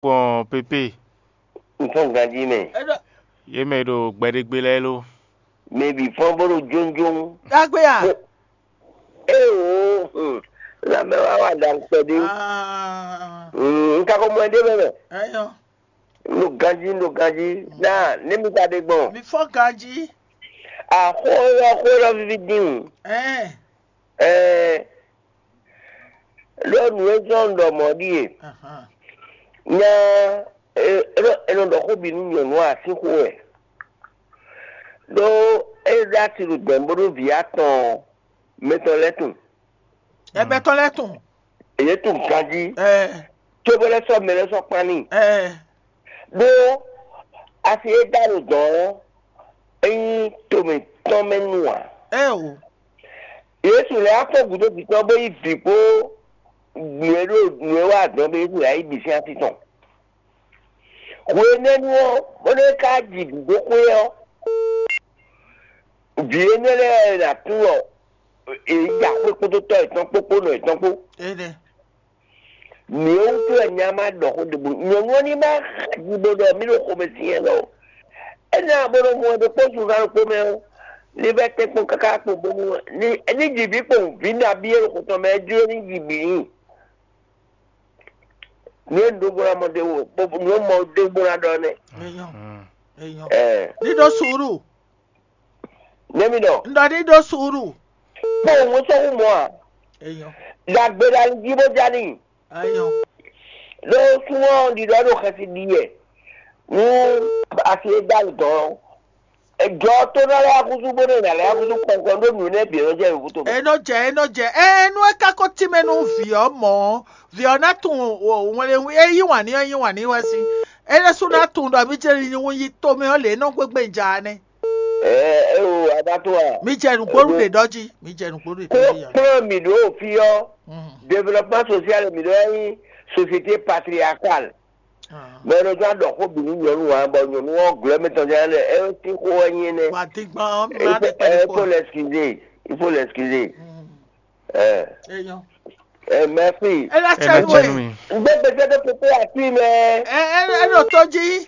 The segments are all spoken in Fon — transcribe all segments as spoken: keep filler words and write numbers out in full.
Kpɔn pépé. N fɔ́n ganjí mɛ. Yě mɛ e ɖo gbɛɖégbé lɛ́ɛ ló. Mɛ bǐ fɔ́n bó ɖo jónjón. Dagbe a? Éwo, lanmɛ wa wa ɖa kpɛɖé. Ah, N ka ko mɔ ɛ ɖé mɛ mɛ. Eyɔ, N ɖo ganjí, n ɖo ganjí. Ná ne mi ka ɖe gbɔn. mi fɔ ganji. Axó élɔ́ xó élɔ́ víví dín. Ɛn, Ɛɛ, ɖó nǔ e zɔ́n un ɖɔ mɔ̌ ɖíe. ahan. Nya e e nɔ e nɔ ɖɔ xó bǐ nú nyɔ̌nu asíxo wɛ. Ɖó é ɖó asi ɖo dɛ̌n bó ɖó vǐ atɔn mɛtɔn lɛ́ɛ tunwun. Ɛbɛtɔ lɛ tun. Èyí tunwun ganjí. Ɛ, Cóbó lɛ́ sɔ́ mɛ lɛ́ sɔ́ kpán n'i. ɛ, Ɖó asi e dá ɖo dɔ̌n ɔ́, é nyí tomɛ tɔn mɛ nu ǎ. ɛ o. Yésu lɛ́ afɔ gǔdo bǐ tɔn bó yí vǐ kpó nǔ e ɖo nǔ e wa dɔn bó Yésu lɛ́ yí bǐ sín así tɔn. Hwenɛ́nu ɔ́, bónú é ka ji vǐ dó xwé ɔ́, vǐ énɛ́ lɛ́ɛ wɛ è nǎ tunwun ɖɔ è yi axwé kpódó tɔ́ yětɔn kpó kpó nɔ yětɔn kpó. Ene. Nǔ e wútu wɛ nya ma ɖɔ xó ɖěbǔ nyɔ̌nu ɔ́ ní ma xa ji bó ɖɔ mí ɖo xomɛ syɛ́n lɔ. Énɛ́ abo nɔ mɔ ɛ ɖokpó zunzán ɖokpó mɛ ɔ́, ní vɛ́ tɛ́nkpɔ́n káká kpo bónú ní ní ji vǐ kpowun vǐ nabí e ɖo xo tɔn mɛ é jló ní ji bǐ nyi. Nǔ e un ɖó bó ná mɔ ɖé wò bó nǔ e mɔ ɖé bó ná ɖɔ nɛ́. Eyɔ, eyɔ. Ɛɛ Ɖiɖo suuru. Nɛ́ mi ɖɔ Ŋɖɔ ɖiɖo suuru. Kpowun sɔ́ hú mɔ a? Eyɔ, Ɖagbe ɖo ali jí bó ja n'i. eyɔ. Ɖó súnmọ́ ɖiɖɔ ɖo xɛsi ɖi yɛ. Nú asi e dá dɔn ejɔ tó ná lɛ́ akúsú bó nɛ nà lɛ́ akúsú kpɔnkpɔn ɖó nǔ nɛ bǐ nɔ jɛ yǒkútó mɛ. Enɔ jɛ enɔ jɛ ɛ nú é ka ko tínmɛ nú vǐ ɔ́ mɔ ɔ́, vǐ ɔ́ ná tunwun wɛnlɛnwí é yí wǎn ní ɔ́ yí wǎn ní wɛ sín. É ɖésú ná tunwun ɖɔ mí jɛ ní wún yí tomɛ ɔ́ lě nɔ gbégbé ja nɛ́. Ɛ ɛ o adató a. Mí jɛ nǔgbó ɖe ɖɔ jí, mí jɛ nǔgbó ɖe ɖɔ jí. Kplɔn mi ɖo fi ɔ́, développement social mi ɖo ɛ nyí société patriarcale. Mɛ ɖo tó aɖɔ xó bǐ nú nyɔ̌nu ǎ bɔ nyɔ̌nu ɔ́ glɔ́ mɛ tɔn jɛ lɛ ɛ ti xó wɛ nyi énɛ́. Wà á dín gbɔn ɔ́, mi Il má faut ɖe il faut pɛ̀lú. L'excuser. Il faut l'excuser. Ɛ Eyɔ. ɛ merci. É ná Ena tẹ́ tsɛ nú nú ẹ̀. mi. N gbé gbèsè tó pépé àti mɛ. Ɛ ɛ ɛ ɖo tó jí.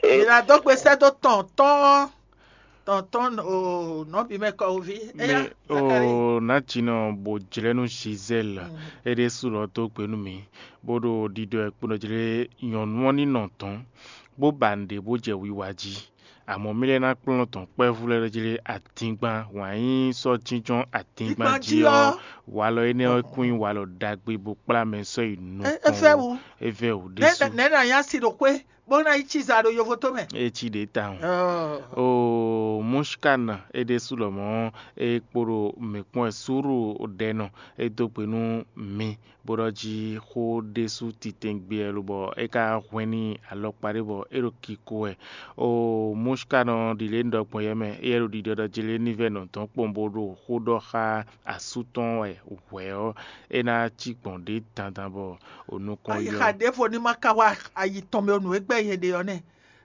Mǐ ná dó gbe sɛ́ dó tɔn tɔn tɔn tɔn o nɔbí mɛ kɔ oví. Eya Mi o natsinɔ bo jlɛ́ nú Gisèle é ɖésú lɔ dó gbe nú mi bó ɖo ɖiɖɔ ɛ kponɔ jlé nyɔ̌nu ɔ́ ní nɔ tɔn bó ba nǔɖé bó jɛ wiwa jí. Amɔ̌ mí lɛ́ ná kplɔ́n tɔn kpɛ́vú lɛ́ɛ jlé atíngban wǎn yí sɔ́ jínjɔ́n atíngban jí ɔ́, walɔ énɛ́ ɔ́ kún nyí walɔ ɖagbe bó kplá mɛ sɔ́ yi É é fẹ́ nukɔn. wu. É vɛ́ wǔ Nɛ́ ɖésú. nɛ́ nǎ nyá si ɖo xwé bó ná yi cí za ɖo yovo tó mɛ. É cí ɖě tawun. Ɔɔ. O Mushkan é ɖésú lɔmɔ̌ é kpo ɖo mǐ kpɔ́n ɛ súrú ɖɛ nɔ é dó gbe nú mi bó ɖɔ jí xó ɖésú titɛngbé ɛ lobɔ é ka hwɛ́n n'i alɔkpa ɖé bɔ é ɖo kiko wɛ. O Mushkan ɔ́ ɖi lě un ɖɔ gbɔn yɛ mɛ éyɛ́ ɖo ɖiɖɔ ɖɔ jí lé ní vɛ́ nɔ dɔn kpɔ́n bó ɖo xó ɖɔ xá asú tɔn wɛ hwɛ̌ ɔ́, é ná cí gbɔn ɖě dandan bɔ o nukɔn Ayi yɔ. xa ɖěvo ní ma ka wá ayi tɔn mɛ nǔ e gbɛ́ nyɛ ɖe ɔ́ nɛ́.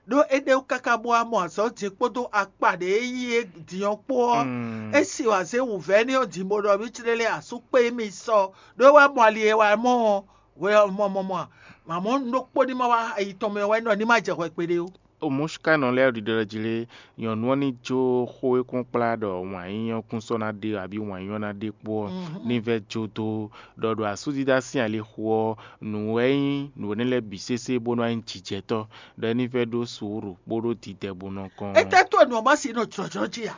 Ɖó é ɖe wú káká bó wá mɔ azɔ̌ din kpódó akpa ɖě e yí é din ɔ́ kpó ɔ́, Mm. é si wǎ zé wǔvɛ́ ní ɔ́ din bó ɖɔ mí clé lé asú kpé mì sɔ ɖó é wá mɔ ali e wá mɔ ɔ́, hwɛ ɔ́ mɔ mɔ mɔ a? Mamɔ̌ un ɖokpó ní ma wá ayi tɔn mɛ wɛ nɔ ní ma jɛ hwɛ kpeɖé ó. O Mushkanɔ lɛ́ɛ ɖiɖɔ ɖɔ jí lé, nyɔ̌nu ɔ́ ní jó xó e kún kplá ɖɔ wǎn yíyɔ́ kún sɔ́ ná ɖe abǐ wǎn yíyɔ́ ná ɖe kpó ɔ́, ní vɛ́ jó dó ɖɔ ɖo asúdídá sín alixo ɔ́, nǔ wɛ nyí nǔ énɛ́ lɛ́ɛ bǐ sésé bó nɔ nyí jǐjɛtɔ́, ɖɔ é ní vɛ́ ɖó suúru kpódó didɛ bó nɔ kɔn. Étɛ́ tó nǔ ɔ́ má si nɔ jlɔ̌jlɔ́ jí a?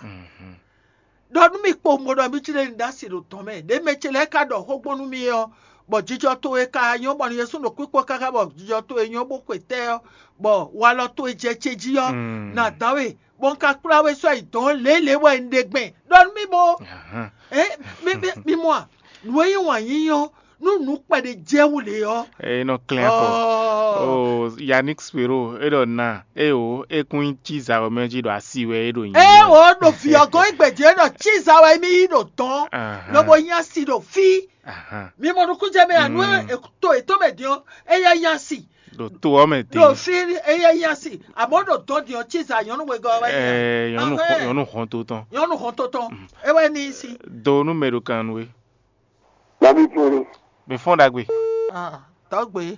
Ɖɔ nú mì kpowun bó ɖɔ mí clé ní ɖó asi ɖo tɔn mɛ. Ɖě mɛ ce lɛ́ɛ ka ɖɔ xó gbɔn nú mì ɔ́, bɔ jijɔ towe ka nyɔ́ bɔ Jezu ɖo kpíkpɔ́ káká bɔ jijɔ towe nyɔ́ bó xwe tɛ́ ɔ́, bɔ walɔ towe jɛ ce jí ɔ́, Mm. nǎ dán we, bɔ un ka kplá we sɔ́ yi dɔ̌n lělě wɛ un ɖe gbɛn. Ɖɔ nú mì bó. Ahán. Ɛ mi mi mi mɔ a? Nǔ e nyí wǎn yíyí ɔ́, nú nǔ kpɛɖé jɛ wú lě ɔ́. É nɔ klɛ́n xɔ. Ɔɔ. O Yannick Spero é ɖɔ na é o é kún nyí cí zawɔmɛ jí ɖo asi wɛ é ɖo nyi. Ɛ o ɖo viɔgɔn igbe jí ɖɔ cí za wɛ mi yi ɖo dɔn. Ahán. Lobo nya si ɖo fi. Ahán. Mi mɔ nukúnjɛ mɛ anu Mm. to ètò mɛ diɔ eya nya si. Ɖo to ɔ́ mɛ Ɖo tɛ. Fi eya nya si. Àmọ́ ɖo dɔn diɔ cí za nyɔnu wegɔ wɛ. Ɛɛ nyɔnu Ahán. nyɔnu hɔn to tɔn. Nyɔnu hɔn to tɔn. Ewɛ ni si. Do nú mɛ ɖo kan nú é. Bábí fún mi. Mɛ fɔ́n ɖagbe. Ah, tɔgbe.